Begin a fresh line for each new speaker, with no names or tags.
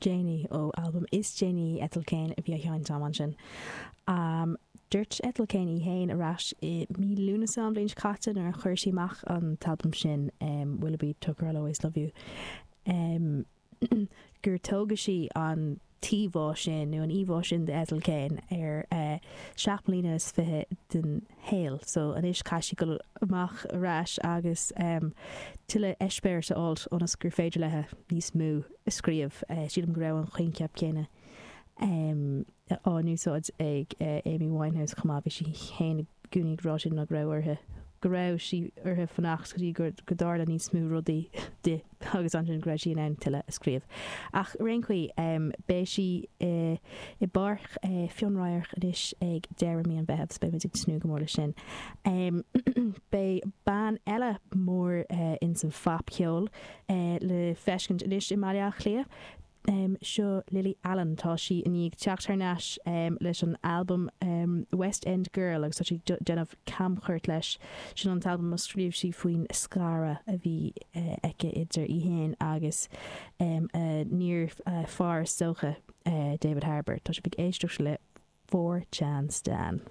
déanaí ó albam is déanaí Ethel Cain a bhí á sheinnt agam ansin. Dúirt Ethel Cain í féin ar ais i mí Lúnasa an bhliain seo caite nuair a chuir sí amach an t-albam sin Willoughby Tucker I'll Always Love You gur tógadh sí an t-íomhá sin nó an íomhá sin d'Ethel Cain ar 27 mbliana den shaol. So anois caithfidh sí dul amach ar ais agus tuilleadh eispéiris a fháilt ionas gur féidir léi níos mó a scríobh. Sílim go raibh an coincheap céanna á n-úsáid ag Amy Winehouse chomh maith. Bhí sí féin i gcónaí ag rá sin ná go raibh uirthi, go raibh sí uirthi fanacht go dtí go dtarla níos mó rudaí di agus ansin go raibh sí in ann tuilleadh a scríobh. Ach ar aon chaoi, beidh sí i bPáirc Fionn Radharc anois ag deireadh mí an Mheithimh, so beidh muid ag tnúth go mór leis sin. Beidh bean eile mór ins an phopcheol le feiscint anois i mBaile Átha Cliath. Seo Lily Allen. Tá sí i ndiaidh teacht thar n-ais leis an albam West End Girl agus tá sí ag déanamh camchuairt leis. Sin an t-albam a scríobh sí faoin scaradh a bhí aici idir í féin agus a n-iarfhear is dócha, David Harbour. Tá sibh ag éisteacht le 4 Chan Stan.